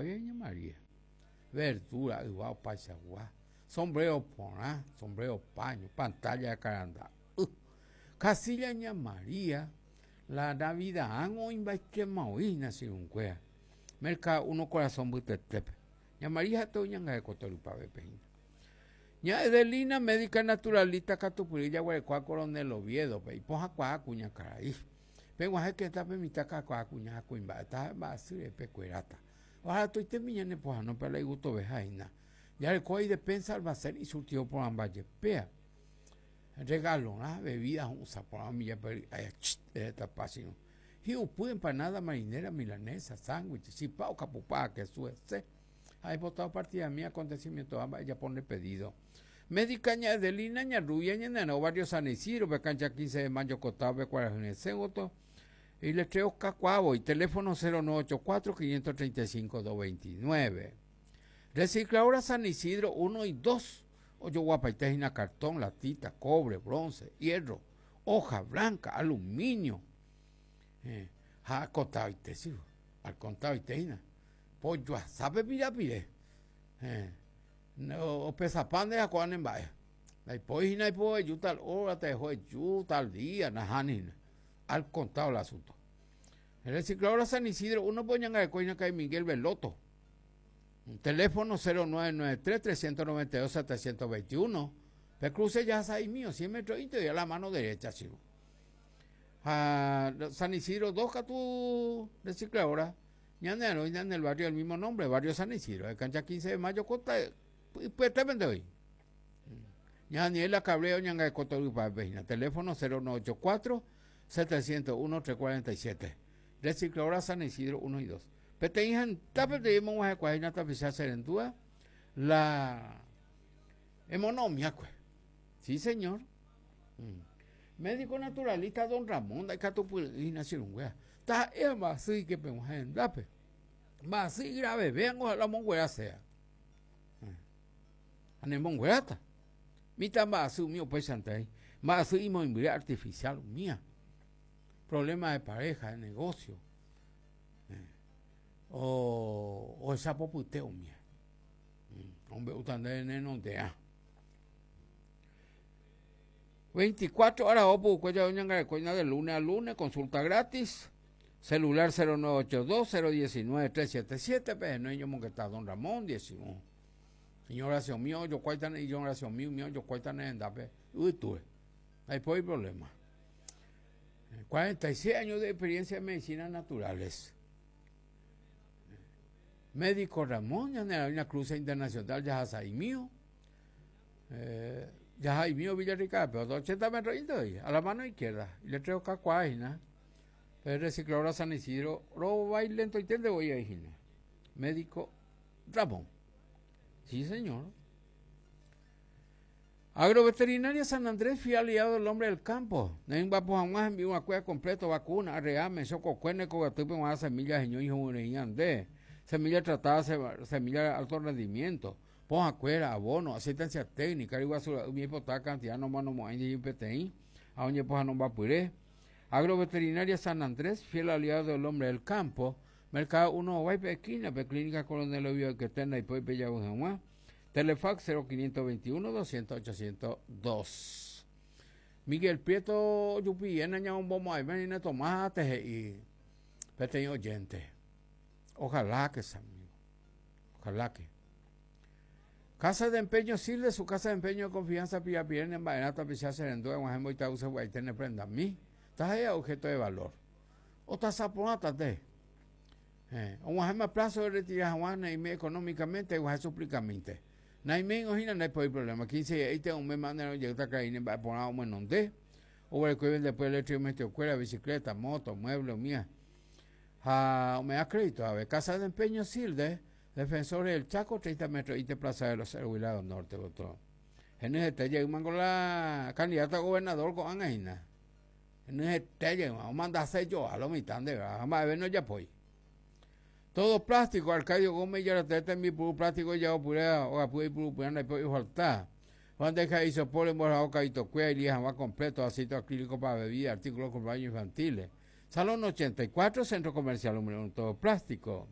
Ojoguái Ña María. Verdura, yva opaichagua, sombrero porã, sombrero paño, pantalla de karanda'y. Casilla Ña María, la Navidad-ãngo oĩmbaitéma oĩ hína che irũnguéra. Mercado Uno korasõ mbytetépe. Ña María ha'ete oñangareko torypavépe hína. Ña Edelina, médica naturalista katupyry jaguerekóva Coronel Oviedo-pe, ipohãkuaa kuñakarai. Peg̃uahẽ kétape mitã kakuaa kuña ha kuimba'e taha mba'asy repekueráta. Oharatoitémi ñane pohãno pe la igustoveha hína. Jarekóva idespensa almacén isurtido porãmba jepéa. Regalorã, bebida hu'ũsa porã umi jepe ry'ái chit ehetapa chirũ. Hi'upy, empanada, marinera, milanesa, sándwich, chipa okapupa kesu hese. Ha aipota opartidami acontecimiento-ha mba'e japo nde pedido. Médica ña Edelina, ña Rubia, ñane arã barrio San Isidro, pe cancha 15 de mayo kotao-pe kuarahy resẽ gotyo. Iletreo kakuaávoi, teléfono 0984 535 229. Recicladora San Isidro 1 y 2, ojoguapaite hína cartón, latita, cobre, bronce, hierro, hoja blanca, aluminio. Eh, ha akontaoite sí, akontaoite hína. Pojoasápe pirapire. Eh, opesapa nde ha ko'ã ne mba'e. Ndaipói hína aipo eju tal hora, te dejo eju tal día, nahániri hína. Al contado el asunto. Recicladora San Isidro 1 pe oñangareko hína karai Miguel Veloto. Teléfono 0993 392 721. Pe cruce ya sa'imío, 100 metros ínte a la mano derecha, chico. Ha San Isidro 2 katu recicladora ñane aroina en el barrio del mismo nombre, barrio San Isidro, de cancha 15 de mayo, kota ipyetépente oĩ. Ña Daniela Cabrera oñangareko torypápe hína, teléfono 0984 701 347. Recicladora San Isidro 1 y 2. Peteĩ hendápe peteĩ emog̃uahẽkuaa hína tapicha che rendúva la emonomiakue. Sí, señor. Mm. Médico naturalista don Ramón ndaikatupyry'ỹ hína che irũnguéra. Taha'e mba'asy ike peg̃uahẽ hendápe. Mba'asy igravevéango ha la omonguera sea. Ha nemongueráta. Mitã mba'asy umi upéichante aĩ. Mba'asy imoĩmbyre artificial umía. Problema de pareja, de negocio. O ohecha popyte umía. Ombe'úta ndéve nenonderã. 24 horas pukue jave oñangareko hína de lunes a lunes, consulta gratis. Celular 0982 019 377 pe henói ñomongeta don Ramón 11. Iño oración mío ojokuáita ne iño oración mío mío ojokuáita ne rendápe yvytúre. Ndaipóri problema. 46 años de experiencia en medicina naturales. Médico Ramón, ñane una cruce internacional jahasa'i mío. Eh, jaha'i mío Villarrica, pero 80 metros a la mano izquierda. Y le traigo kakuaa hína. Pe recicladora San Isidro rovái lentoiténte voi ahí hína. Médico Ramón. Sí, señor. Agroveterinaria San Andrés, fiel aliado del hombre del campo. Neymbapo hag̃ua hembi'uakuéra completo, vacuna, arreame, chokokue, nekogatýpe g̃uarã semilla heñói ho'yrei ande, semilla tratada, semilla de alto rendimiento, pohãkuéra, abono, asistencia técnica, ryguasu ra'y oipota cantidad nomanomo'ãi ndéi peteĩ ha oñepohãnombapyre. Agroveterinaria San Andrés, fiel aliado del hombre del campo. Mercado 1 Ováipe esquina-pe, Clínica Coronel Oviedo ykete ndaipói pejavy hag̃ua. Telefax 0521 200 802. Miguel Prieto ojupiéna ñamombomo'ãime nina Tomás te he'i peteĩ oyente. Ojalá que ese amigo. Ojalá que. Casa de empeño sirve su casa de empeño de confianza pirapire ne mba'erã tapicha che rendu eg̃uahẽ mboitavy sagua'ite ne prendami. Taha'e objeto de valor. Otasa porãta nde. Eh, og̃uahẽma plazo de retira hag̃ua naime económicamente eg̃uahẽ suplicamínte. Naiméingo hína ndaipóri problema. 15 diaite oméma nerõ jeýta karai ne mba'e porã omohenonde. Oguereko ivendepy electrodomesticokuéra, bicicleta, moto, mueble, umía. Ha ome'ã crédito ave. Casa de empeño Silde, Defensores del Chaco, 30 metros ite Plaza de los Héroes lado norte gotyo. Henyhẽte jeýmango la candidato a gobernador ko'ág̃a hína. Henyhẽte jeýma, omandase joa lo mitã ndéve ha mba'eve ndojapói. Todo plástico, Arcadio Gómez ijaratee tembipuru plástico ija'opyréva, ogapy oipurupyrã ndaipói ofalta. Bandeja isopor emborahao kaitokuéra ilia hag̃ua completo, vasito acrílico para bebida, artículos con baño infantiles. Salón 84, Centro Comercial Número 1, todo plástico.